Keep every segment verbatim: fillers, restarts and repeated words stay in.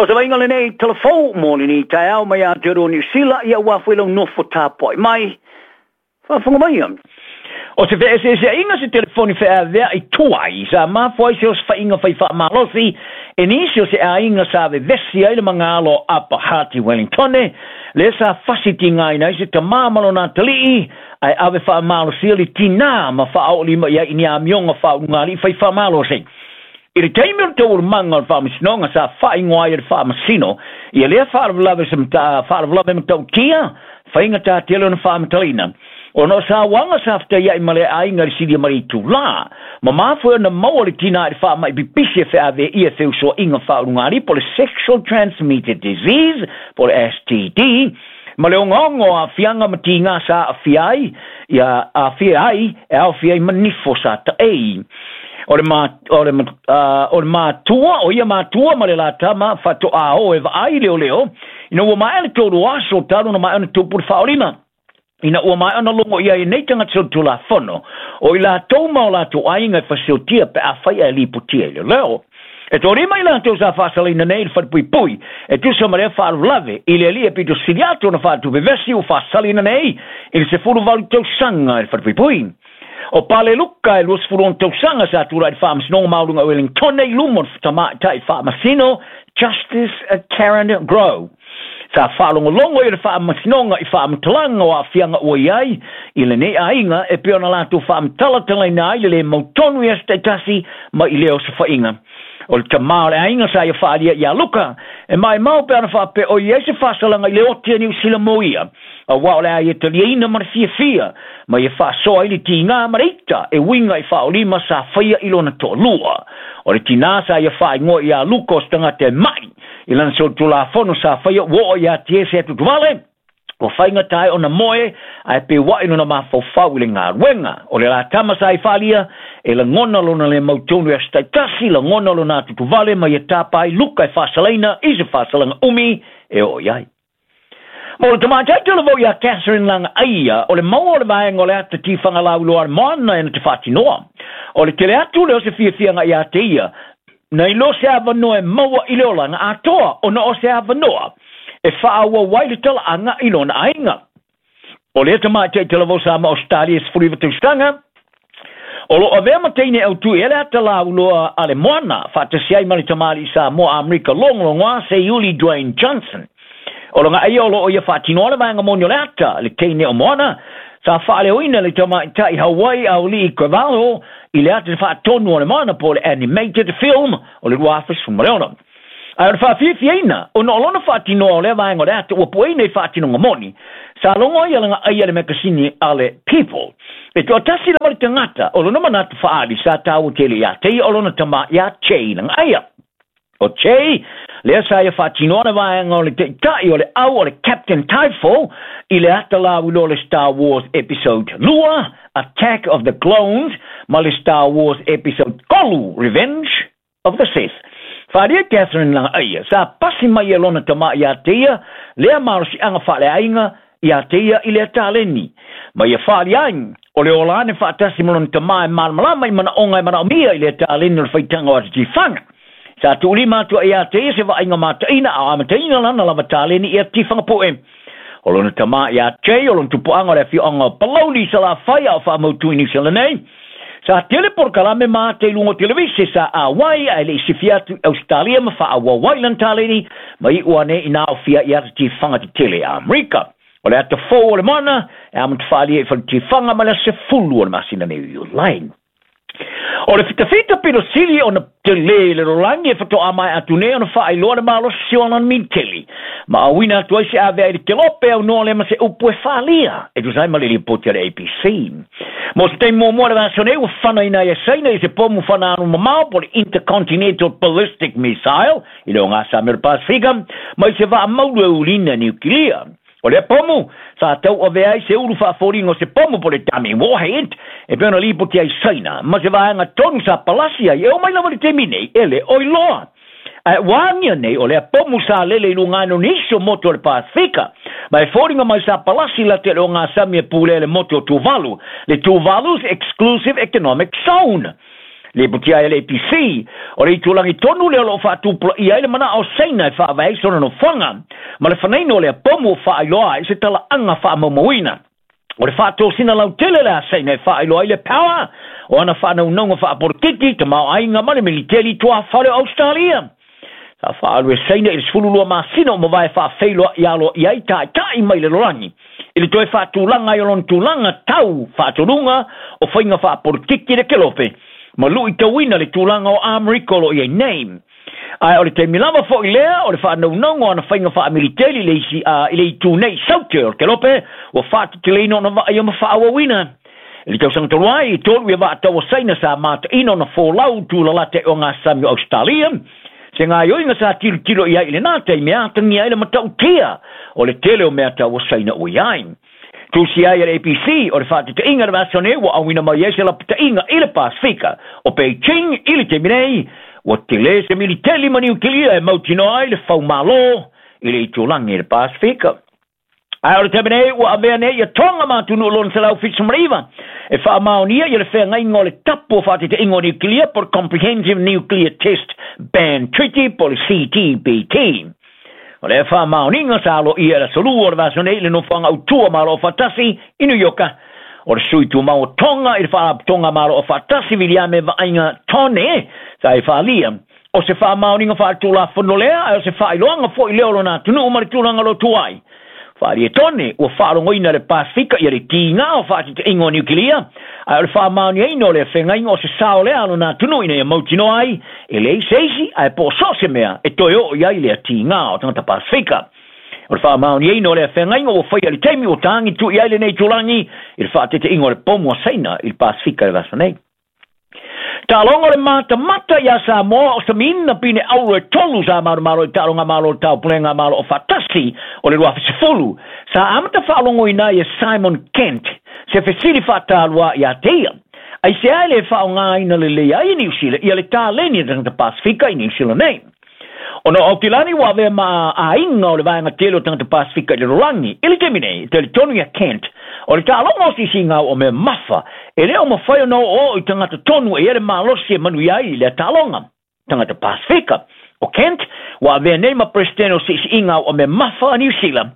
O se vaaiga lenei talavou mo lenei taeao mai Aotearoa Niu Sila, ia ua foi lau nofo tapuai mai. Faafofoga maia. O se feeseeseaiga se telefoni feaveai tuai sa mafua ai se osofaiga fai faamalosi e nisi o se aiga sa vevesi ai le magalo o Upper Hutt i Wellingtone, lea sa fasi tigaina ai se tamā ma lona atalii ae ave faamalosia le tinā ma faaoolima i ai i ni amioga faaulugalii fai faamalosi. I le taimi o le taualumaga o le faamasinoga sa faaigoa ai e le faamasino ia lea faalavelave se faalavelave matautia faigatā tele ona faamatalaina ona o sauaga sa fetaiai ma le aiga i le silia ma le itulā ma mafua ona maua le tinā i le faamai pipisi e feaveaia e feusoaiga faaulugalii po o le sexual transmitted disease po o le S T D ma le ogaoga o aafiaga ma tigā sa aafia ai ia aafia ai e aofia ai ma nifo sa taei. O le ma, o le, uh, o le matua, o ia matua ma le latama faatoa o e vaai leoleo ina ua maea le tolu aso talu na maea ona tupu le faaolima. Ina ua maea ona logo ia i nei tagata solitulafono o i latou ma o latou aiga e fasiotia pe afai ae lipotia i leoleo. E tolima i latou sa faasalaina nei i le falepuipui e tusa ma lea faalavelave i le alii e pito sili atu ona faatupevesi ua faasalaina nei i le sefulu valu tausaga i le falepuipui. O Pale Luka e luasefulu ono tausaga sa tulai i le faamasinoga maualuga o Wellington i luma o le tamaitai faamasino Justice Karen Grow. Sa faalogologo i le faamasinoga i faamatalaga o aafiaga ua i ai i lenei aiga e pei ona latou faamatalatalaina ai le lē mautonu i aso taitasi ma i lea osofaiga. O le tamā o le aiga sa ia faalia iā Luka e maimau pe ana faapea o i ai se faasalaga i le oti a Niu Sila mo ia auā o le a ia taliaina ma le fiafia ma ia faasoa ai le tigā ma le ita e uiga i faaolima sa faia i lona toalua. O le tinā sa ia faaigoa iā Luka o se tagata e mai i lana solitulafono sa faia ua oo iā te se atutuvale ua faigata ai ona moe ae peuaʻi lona mafaufau i le galuega. O le latama sa i faalia e lagona lona le mautonu i aso taitasi, lagona lona atutuvale ma ia tapa ai Luka e faasalaina i se faasalaga umi e oo i ai. Mo le tamaitai talavou iā Catherine Lagaia, o le maua o le vaega o le ata tifaga lauiloa a le moana e na te faatinoa. O le tele atu lea o se fiafiaga iā te ia, nai lo se avanoa e maua i le olaga atoa ona o se avanoa e faaauau ai le talaaga i lona aiga. O lea tamaitai talavou sa ma Australia e sefulu iva tausaga, o loo avea ma teine autū i ele ata lauiloa a le moana faatasi ai ma le tamalii Samoa Amerika logologoa Seiuli Dwayne Johnson. O Lagaia o loo ia faatinoa le vaega moni o le ata le teine o Moana sa faaleoina le tamaitai Hawaii Auli'i Cravalho i le ata faatonu o le moana po o le animated film o le lua afe sefulu ma le ono. Ae o le faafiafiaina ona o lona faatinoa o lea vaega o le ata ua pueina i faatinoga moni sa logo ai a Lagaia le makasini a le People. E toatasi lava le tagata o lona manatu faaali sa taua tele iā te ia o lona tamā iā Che Lagaia. O Che, lea sa ia faatinoa le vaega o le taitai o le au o le Captain Typho i le ata lauiloa o le Star Wars Episode two, Attack of the Clones, ma le Star Wars Episode three, Revenge of the Sith. Faalia Catherine Lagaia sa pasi mai e lona tamā iā te ia, lea malosiaga faaleaiga iā te ia i lea taleni. Ma ia faalia ai, o le ola ane faatasi ma lona tamā e malamalama i manaoga e manaomia i lea taleni o le faitaga o ata tifaga. Sa tuulima atu ai iā te ia se vaaiga mataina a o amataina lana lava taleni i ata tifaga poe. O lona tamā iā Che, o lona tupuaga o le afioaga o Palauli Salafai a o faamautu i Niu Sila nei. Sa tele polokalame ma ate i luga o televise sa auai ae leʻi sifi atu i Australia ma faaauau ai lana taleni ma iʻu ane ina aofia i ata tifaga tetele a Amerika. O le ata fou o le moana e amata faalia i faletifaga ma le aso sefulu o le masina nei o Iulai. O le fitafita pito sili ona telē le lalolagi e fatoā maea atu nei ona faailoa le malosi o lana militeli. Ma auina atu ai se avea i le kelope aunoa lea ma se upu e faalia e tusa ai ma le lipoti a le A B C. Mo se taimi muamua le vaiaso nei ua fanaina ai e Saina i se pomu fanaanu mamao po o le Intercontinental Ballistic Missile i le ogasami o le Pasifika mai se vaamaulu e ulina niukilia. O lea pomu sa tauavea ai se ulu faafoliga o se pomu po o le dummy warhead e pei ona lipoti ai Saina ma se vaega tonu sa palasi ai e oo mai lava i le taimi nei e le oi loa. Ae ua agia nei o lea pomu sa lele i luga ane o nisi o motu o le Pasifika ma e foliga mai sa palasi late le ogasami e pulea le motu o Tuvalu, le Tuvalu's Exclusive Economic Zone. Le putia e le A P C, o le itulangi tonu lea o loo faatupulaia ai le manao o Saina e faavae ai sona nofoaga ma le fanaina o lea pomu o faailoa ai se talaaga faamaumauina. O le faatosina lautele le a Saina e faailoa ai le power o ana faanaunauga faapolokiki tamaoaiga ma le militeli tuafale o Australia. Sa faaalu e Saina i le sefululua masina o mavae faafeiloai aloaia ai taitai mai le lalolagi i le toe faatulaga ai o lona tulaga tau faatonuga o faiga faapolokiki le kelope ma luitauina le tulaga o Amerika o loo i ai nei. Ae o le taimi lava foʻi lea o le faanaunauga o ana faiga faamiliteli i le isi i le itu nei saute o le kelope ua faateteleina ona vaaia ma faaauauina. I le tausaga talu ai i tolu ia vaataua Saina sa mataina ona folau tulalata i ogasami o Australia se gaioiga sa tilotilo i ai i lenā taimi e atagia ai le matautia o le tele o mea taua Saina ua i ai. Tusi ai e le A P C o le faatetaiga le vaiaso nei ua auina mai ai se lapataiga i le Pasifika o Beijing i le taimi nei ua tele se militeli ma niukilia e mautinoa ai le faumālō i le itulagi i le Pasifika. Ae o le taimi nei ua avea nei ia Tonga ma atunuu lona selau fitu ma le iva e faamaonia ia le feagaiga o le tapu o faatetaiga o niukilia po le Comprehensive Nuclear Test Ban Treaty po le C T B T. O le faamaoniga sa aloaia e le aso lua o le vaiaso nei i le nofoaga autua Malo Aufaatasi i New Yorka. O le sui tumau o Tonga i le faalapotopotoga Malo Aufaatasi Viliame Vaaiga Tone sa e faaalia. O se faamaoniga faaletulafono lea ae o se faailoaga foʻi lea o lona atunuu ma le tulaga o lo o tu ai. Faaalia Tone ua faalogoina le Pasifika ia le tiga o faatetaiga o niukilia ae o le faamaoniaina o le feagaiga o se sao lea a lona atunuu ina ia mautinoa ai e leai se isi ae po o so o se mea e toe oo i ai lea tiga o tagata Pasifika. O le faamaoniaina o lea feagaiga ua faia i le taimi ua tagi tui ai lenei itulagi i le faatetaiga o le pomu a Saina i le Pasifika i le vaiaso nei. Taaloga o le matamata iā Samoa o samiina pine auro e tolu sa malomalo i taaloga malo o le taupulega Malo Aufaatasi o le luafe sefulu sa amata faalogoina ai e Simon Kent se fesili faatalua iā te ia. Ai se ai le faaaogāina lelei ai i Niu Sila ia le taleni a tagata Pasifika i Niu Sila nei. Ona o Aukilani ua avea ma aiga o le vaega tele o tagata Pasifika i le lalolagi i le taimi nei e talitonu ia Kent o le taaloga o sisigau o mea mafa e le o mafai ona oooo i tagata tonu e ia le malosi e manuia ai i lea taaloga tagata Pasifika. O Kent ua avea nei ma peresetene o siisiigau o mea mafa a Niu Sila.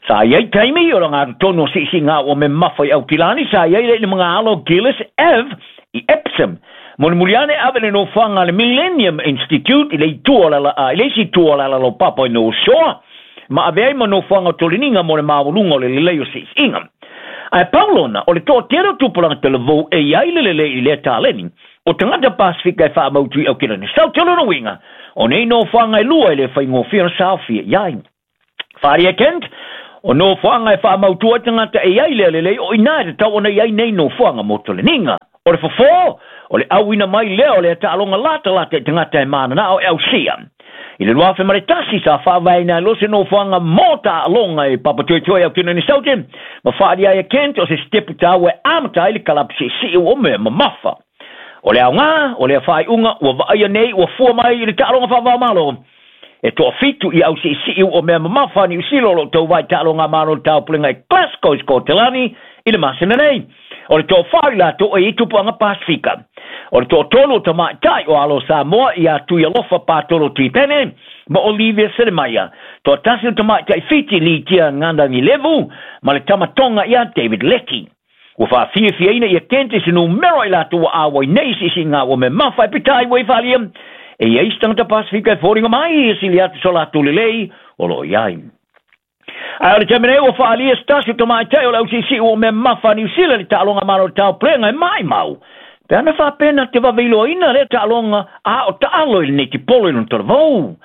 Sa i ai taimi o le gatotonu o siisiigau o mea mafa i Aukilani sa i ai le i le magaalo Gillis Ave i Epsom. Mulimuli ane ave le nofoaga a le Millennium Institute i le itu o le i le isi itu o le alalaupapa i North Shore ma ave ai ma nofoaga o toleniga mo le maualuga o le lelei o siisiga. Ae pau lona o le toatele o tupulaga talavou e i ai le lelei i lea taleni o tagata Pasifika e faamautu i Aukilani Saute. O lona uiga o nei nofoaga e lua e le faigofie ona saofia i ai. Faaalia Kent o nofoaga e faamautua ai tagata e i ai lea lelei o inā e tatau ona i ai nei nofoaga mo toleniga. O le fofo o le auina mai lea o le taaloga latalata i tagata e mananao e ausia. I le luafe ma le tasi sa faavaeina ai loa se nofoaga mo taaloga e papatoetoe Aukilani Saute ma faaalia ai e Kent o se sitepu taua e amata ai le kalapu siisii o mea mamafa. O le aogā o lea faaiuga ua vaaia nei ua fua mai i le taaloga faavaomalo e toafitu i ausiisii o mea mamafa a Niu Sila o loo tauvā i taaloga malo le taupulega i Glasgow i Skotelani i le masina nei. O le toafā i latou e i tupuaga Pasifika. O le toatolu o tamaitai o alo Samoa ia Tuialofa Patolo Tipene ma Olivia Selemaia. Toatasi o tamaitai Fiti Litia Qadagilevu ma le tamatonga ia David Leckie. Ua faafiafiaina ia Kent i se numera i latou ua auai nei siisiga ua mea mafa e peitai ua i faalia e i ai se tagata Pasifika e foliga mai e sili atu so latou lelei o loo i ai. Ae o le taimi nei ua faalia se tasi o tamaitai o le ausiisii ua mea mafa a Niu Sila i le taaloga malo o le taupulega e maimau. Pe ana faapena te vaveiloaina lea taaloga a o taalo i lenei tipolo i lona talavou.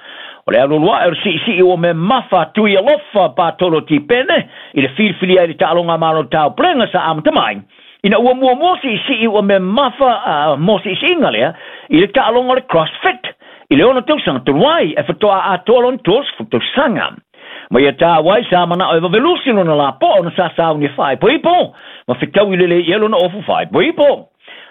O le alualuae o le siisii ua mea mafa Tuialofa Patolo Tipene i le filifilia ai le taaloga malo o le taupulega sa amata mai. Ina ua muamua siisii ua mea mafa mo siisiiga lea i le taaloga o le CrossFit i le ono tausaga talu ai e faatoa atoa lona tolusefulu tausaga. Ma ia tāua ai sa manao e vavelusi lona lapoa ona sa sauni e faaipoipo ma fetaui lelei i ai lona ofu faaipoipo.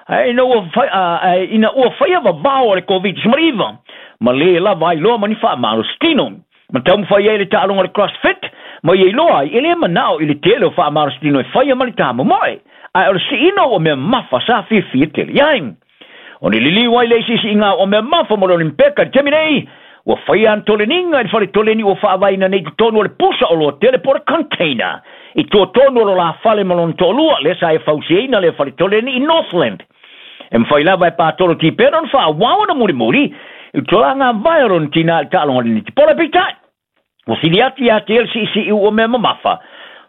Ae ina ua whai, ina ua whaia vavao o le COVID nineteen ma le lava ai loa ma ni faamalositino. Ma taumafai ai le taaloga o le CrossFit ma ia iloa ai e le manao i le tele o faamalositino e faia ma le tamomoe. Ae o le siina ua mea mafa sa fiafia tele i ai. O ni liliu ai le isiisiiga o mea mafa mo le Olimpeka i le taimi nei, ua faia ana toleniga i le fale toleni ua faavaeina nei totonu o le pusa oloa tele po o le container i tua tonu o lo la fale ma lona toalua, lea sa e fausiaina lea fale toleni i Northland. E mafai lava e Patolo Tipene ona faaauau ona mulimuli i le tulaga vae o lona tinā i le taaloga o le netipolo. Peitai, ua sili atu ia te ia le siisii ua mea mamafa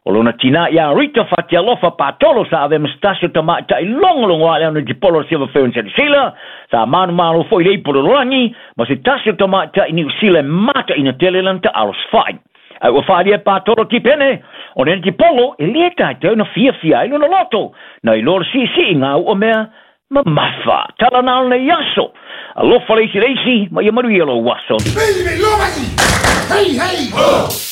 o lona tinā ia Rita Fatialofa Patolo sa avea ma se tasi o tamaitai logologo a le netipolo o le Silver Ferns a Niu Sila, sa manumalo foi i le ipu o le lalolagi ma se tasi o tamaitai Niu Sila e mataina tele lana taalo safa'i. Ae ua faaalia e Patolo Tipene, o le netipolo e lē taitai ona fiafia ai lona loto nai lo le siisiiga ua mea mamafa. Tala na o lenei aso. Alofa le isi le isi, ma ia manuia lou aso. Hey, hey, ho!